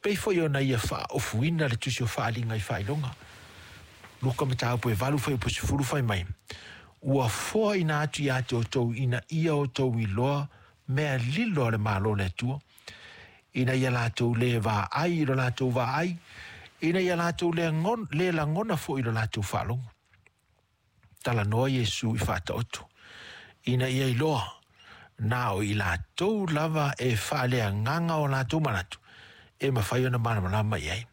Pei foi ona ia faaofuina le tusi o Faaaliga i Faailoga. Luka mataupu e 8 fuaiupu 10 fai mai, ua foaina atu ia te outou ina ia outou iloa mea lilo a le Malo o le Atua, ina ia latou le vaai i lo latou vaai, ina ia latou le lagona foi i lo latou faalogo. Talanoa Iesu i faataoto, ina ia iloa na o i latou lava e faaleagaga o latou manatu e mafai ona malamalama i ai.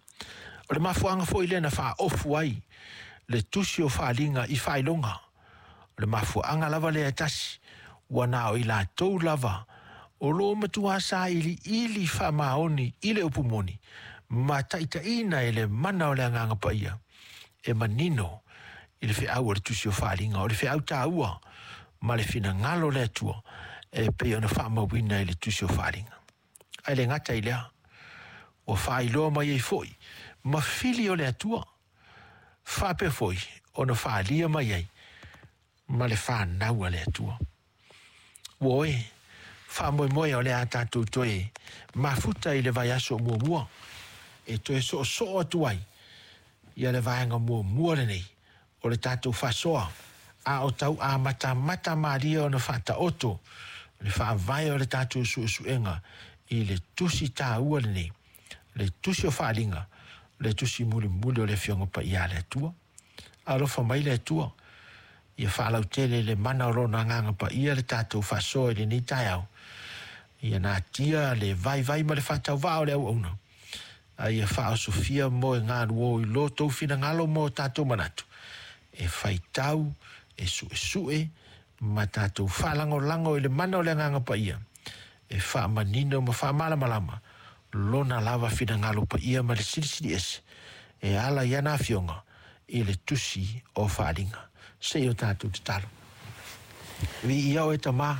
O le mafuaaga foi lea na faaofu ai le tusi o Faaaliga i Faailoga. O le mafuaaga lava lea e tasi, ua na o i latou lava o lo o matua sailiili faamaoni i le upu moni ma taitaiina e le mana o le Agaga Paia e manino i le feau o le tusi o Faaaliga, o le feau taua ma le finagalo o le Atua e pei ona faamauina i le tusi o Faaaliga. Ae le gata i lea, ua faailoa mai ai foi ma fili o le Atua, faapea foi ona faalia mai ai ma le fanau a le Atua. Ua oe, faamoemoe o le a tatou toe mafuta i le vaiaso muamua e toe soosoo atu ai ia le vaega muamua lenei o le tatou faasoa, a o tau amatamata malie ona faataoto le faavae o le tatou suesuega i le tusi taua lenei, le tusi o Faaaliga, le tusi mulimuli o le Afioga Paia a le Atua. Alofa mai le Atua, ia faalautele le mana o lona Agaga Paia le tatou faasoa i lenei taeao, ia natia le vaivai ma le faatauvaa o le auauna, a ia faaosofia mo e galuo i lo tou finagalo mo tatou manatu, e faitau, e suesue, ma tatou faalagolago i le mana o le Agaga Paia, e faamanino ma faamalamalama lona lava finagalo paia ma le silisili ese e ala i ana afioga i le tusi o Faaaliga. Se i o tatou tatalo. Viia oe Tama,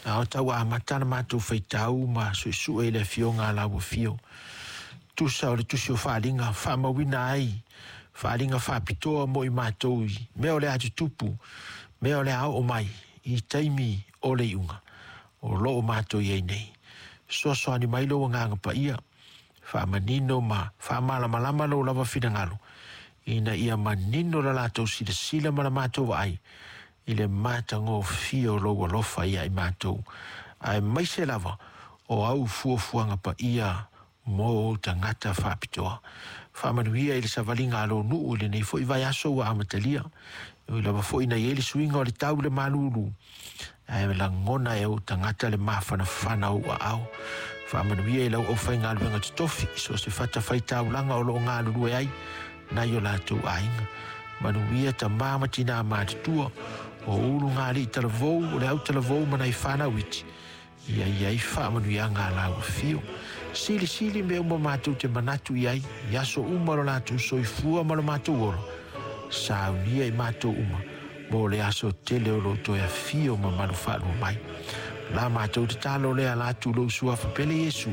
a o tau amata na matou faitau ma suesue i le afioga a lau afio. Tusa o le tusi o Faaaliga, faamauina ai faaaliga faapitoa mo i matou i mea o le a tutupu, mea o le a oo mai i taimi o le iuga o lo o matou i ai nei. Fesoasoani mai lou Agaga Paia, faamanino ma faamalamalama lou lava finagalo, ina ia manino la latou silasila ma la matou vaai i le matagofie o lou alofa ia i matou, aemaise lava o au fuafuaga paia mo ou tagata faapitoa. Faamanuia i le savaliga a lou nuu i lenei foi vaiaso ua amatalia, ui lava foi na i ai le suiga o le tau i le malulu, ae lagona e ou tagata le mafanafana o ou aao. Faamanuia i lau aufaigaluega totofi, so o se fatafaitaulaga o lo o galulue ai nai o latou aiga. Manuia tama ma tinā matutua, o ulugalii talavou, o le au talavou ma nai fanau iti, ia i ai faamanuiaga a lau afio. Silisili mea uma matou te manatu i ai, i aso uma lo latou soifua ma lo matou ola, saunia i matou uma, mo le aso tele o lo toe afio mamalu faalua mai. La matou tatalo lea la tu lou suafa pele Iesu.